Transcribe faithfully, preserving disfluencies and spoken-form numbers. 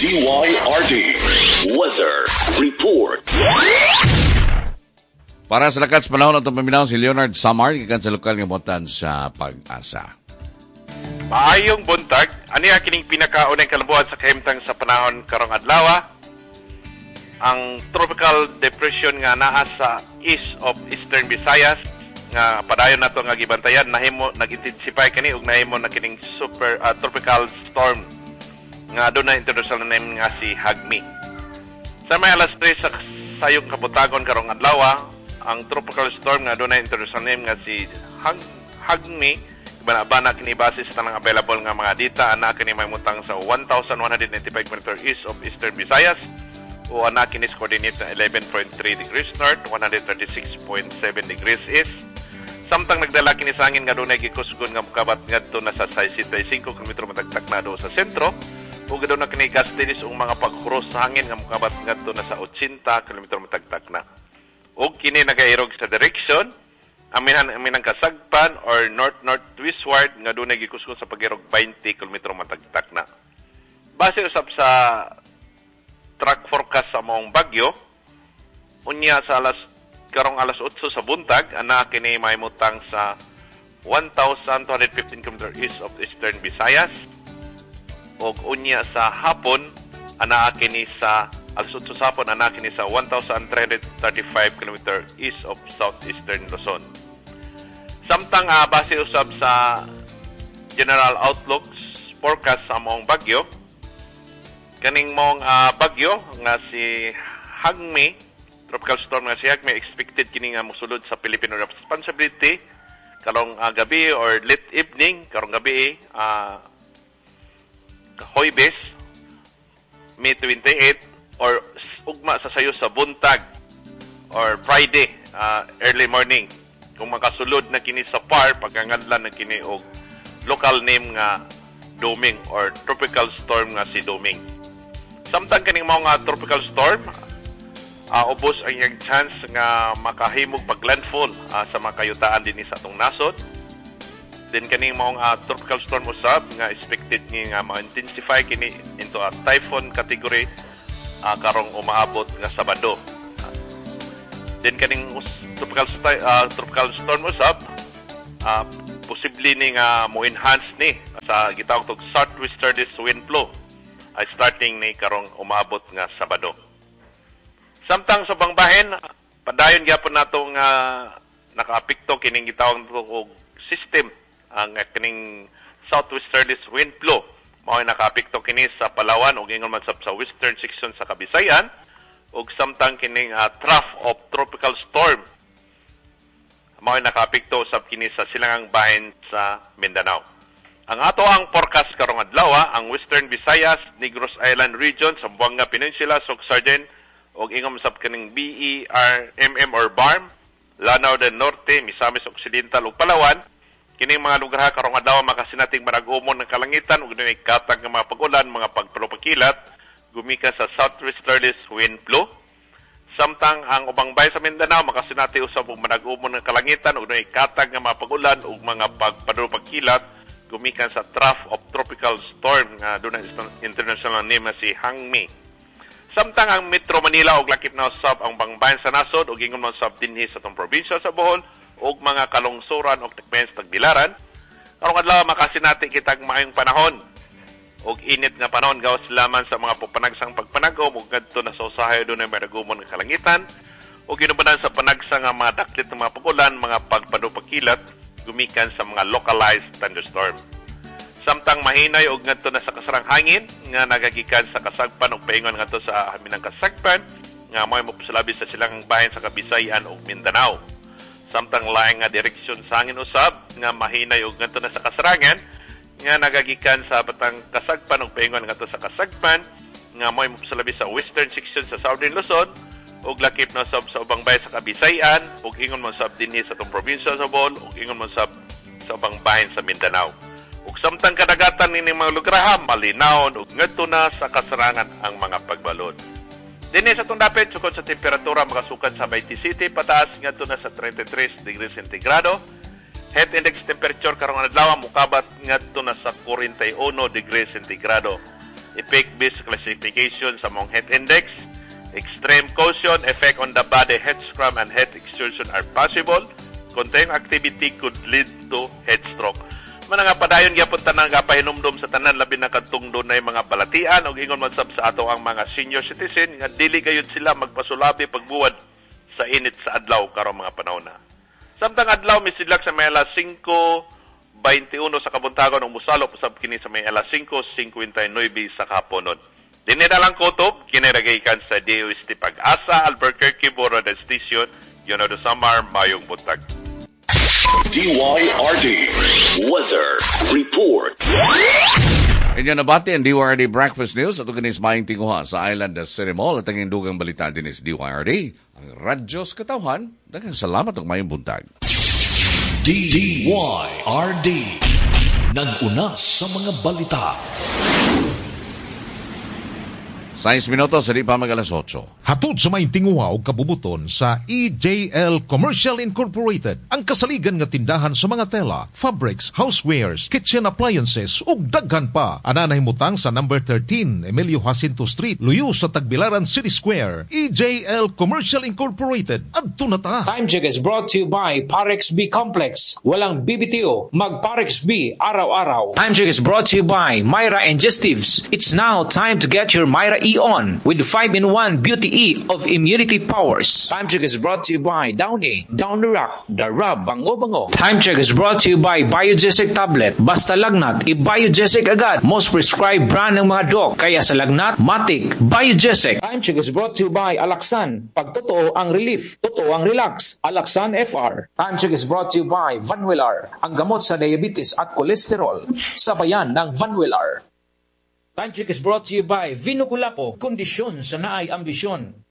D Y R D Weather Report. Para sa lakat sa panahon, atong paminawon si Leonard Samar, gikan sa lokal nga buhatan sa Pag-asa. Maayong buntag, ani kining pinakaunang kalambuan sa kahimtang sa panahon karong adlaw. Ang tropical depression nga naa sa east of Eastern Visayas nga padayon nato nga gibantayan, nahimo nag-intensify kani ug nahimo na kining super uh, tropical storm nga aduna international name nga si Hagmi. Sa may alas tres sa sayong kabuntagon karong adlaw, ang tropical storm nga aduna international name nga si Hag Hagmi bana-bana kini base sa tanang available nga mga data, ana kini mahimutang sa one thousand one hundred ninety-five kilometers east of Eastern Visayas o ana kini sa coordinate na eleven point three degrees north, one hundred thirty-six point seven degrees east. Samtang nagdala kini sa hangin nga dunay gikusgon nga mukabat ngadto na sa sixty-five kilometro matag takna do sa sentro ug aduna kini gustiness ug mga paghuros sa hangin nga mukabat ngadto na sa eighty kilometro matag takna. Ug kini nagairog sa direction aminan aminang kasagpan or north northwestward nga dunay gikusgon sa pag-irog twenty kilometro matag takna. Base usab sa track forecast sa maong bagyo, unya sa alas karong alas otso sa buntag, ana kini mahimutang sa one thousand two hundred fifteen kilometers east of Eastern Visayas ug unya sa hapon, ana kini sa alas otso sa hapon, ana kini sa one thousand three hundred thirty-five kilometers east of Southeastern Luzon. Samtang uh, base usab sa General Outlook forecast sa maong bagyo, kaning maong uh, bagyo nga si Hagmi, tropical storm nga si Hagmi, expected kini nga mosulod sa Philippine Area of Responsibility karong uh, gabi or late evening karong gabi, uh, Huwebes, May twenty-eight, or ugma sa sayo sa buntag or Friday uh, early morning. Kung makasulod na kini sa P A R, pagkangadlan na kini og local name nga Doming or tropical storm nga si Doming. Samtang kaning mga tropical storm, uh, ubos ang iyang chance nga makahimog paglandfall uh, sa mga kayutaan dinhi sa atong nasod. Then kaning maong uh, tropical storm usab nga expected ni nga ma-intensify kini into a typhoon category uh, karong umaabot nga Sabado. Then kaning tropical uh, tropical storm usab, uh, posible ni nga mo enhance ni sa gitawag og southwesterly wind flow ay starting ni karong umaabot nga Sabado. Samtang sa bangbahin, padayon gyapon nato nga nakaapekto kining gitawag og system, ang kining southwesterly wind flow. Mao nakaapekto kini sa Palawan ug ingon man sa western section sa Kabisayan ug samtang kining uh, trough of tropical storm mao nakaapekto usab kini sa silangang bahin sa Mindanao. Ang ato ang forecast karong adlaw, ang Western Visayas, Negros Island Region, Zamboanga Peninsula, Soccsksargen ug ingon sab kining B E R M M or BARMM, Lanao del Norte, Misamis Occidental ug Palawan. Kining mga lugar karong adlaw makasinating manag-umon ng kalangitan ug dunay katag nga mga pag-ulan, mga pagpalupakilat gumikan sa southwesterlies wind flow. Samtang ang ubang bahin sa Mindanao makasinati usab og manag-umon ng kalangitan ug dunay katag nga mga pag-ulan ug mga pagpalupakilat gumikan sa trough of tropical storm nga dunay international name na si Hangmi. Samtang ang Metro Manila ug lakip na usab ang bangbahin sa nasod ug ingon man sab dinhi sa atong probinsya sa Bohol ug mga kalungsuran ug takmen sa Tagbilaran, karong adlaw makasinati kitag maayong panahon ug init nga panahon gawas lamang sa mga panagsang pagpanagom ug ngadto na sa usahay dunay managumon nga kalangitan ug ginubanan sa panagsa nga mga daklit ng mga pag-ulan, mga pagpanupakilat gumikan sa mga localized thunderstorm. Samtang mahinay og ngadto na sa kasarang hangin nga nagagikan sa kasagpan ug paingon ngadto sa haminang kasagpan nga mo'y mopasulabi sa silangang bahin sa Kabisayan ug Mindanao. Samtang laing nga direksyon sa hangin usab nga mahinay og ngadto na sa kasarangan nga nagagikan sa batang kasagpan ug paingon ngadto sa kasagpan nga mo'y mopasulabi sa western section sa Southern Luzon ug lakip na sab sa ubang bahin sa Kabisayan ug ingon man sab dinhi sa atong probinsya sa Bohol ug ingon man sab sa ubang bahin sa Mindanao. Ug samtang kadagatan nining mga lugar malinawon ug ngadto na sa kasarangan ang mga pagbalod. Dinhi sa atong dapit, sukod sa temperatura makasukad sa Bayti City pataas ngadto na sa trentay tres degrees sentigrado. Heat index temperature karong adlaw mukabat ngadto na sa kwarenta y uno degrees sentigrado. Effect-based classification sa mong heat index. Extreme caution, effect on the body, heat scrum and heat exhaustion are possible. Continuing activity could lead to heat stroke. Mana nga padayon gyapon tanan nga pahinumdom sa tanan, labi na kadtong dunay mga balatian og ingon man sab sa ato ang mga senior citizen nga dili gayud sila magpasulabi pagbuwad sa init sa adlaw karong mga panahon na. Samtang adlaw misidlak sa may alas singko twenty-one sa kabuntagon ug musalo usab kini sa may alas singko singkwenta y nuebe sa kahaponon. Dinhi na lang kutob, kini ra gikan sa D O S T Pag-asa, Albuquerque Bureau Station, Leonardo Samar, mayong buntag. D Y R D Weather Report. Inyo nabati ang D Y R D Breakfast News at kinis maayong tinguha sa Island City Mall at ang dugang balita din is D Y R D, ang radyo sa katawhan. Daghang salamat ug maayong buntag. D Y R D. Nag-una sa mga balita. sais minutos sa di pa mag alas otso. Hatod sa may tinguha og kabubuton sa E J L Commercial Incorporated, ang kasaligan nga tindahan sa mga tela, fabrics, housewares, kitchen appliances ug daghan pa. Ana nahimutang sa number thirteen Emilio Jacinto Street, luyo sa Tagbilaran City Square. E J L Commercial Incorporated. Adto na ta. Time Check is brought to you by Parex B Complex. Walang B B T O. Mag Parex B araw-araw. Time Check is brought to you by Myra and Gestives. It's now time to get your Myra E on with five in one Beauty E of Immunity Powers. Time Check is brought to you by Downy. Down the Rock. The Rub. Bango Bango. Time Check is brought to you by Biogesic Tablet. Basta lagnat, i-Biogesic agad. Most prescribed brand ng mga doc. Kaya sa lagnat, Matic, Biogesic. Time Check is brought to you by Alaxan. Pag totoo ang relief, totoo ang relax. Alaxan F R. Time Check is brought to you by Vanwelar. Ang gamot sa diabetes at kolesterol. Sabayan ng Vanwelar. Time Check is brought to you by Vino Culapo. Kondisyon sa naay ambisyon.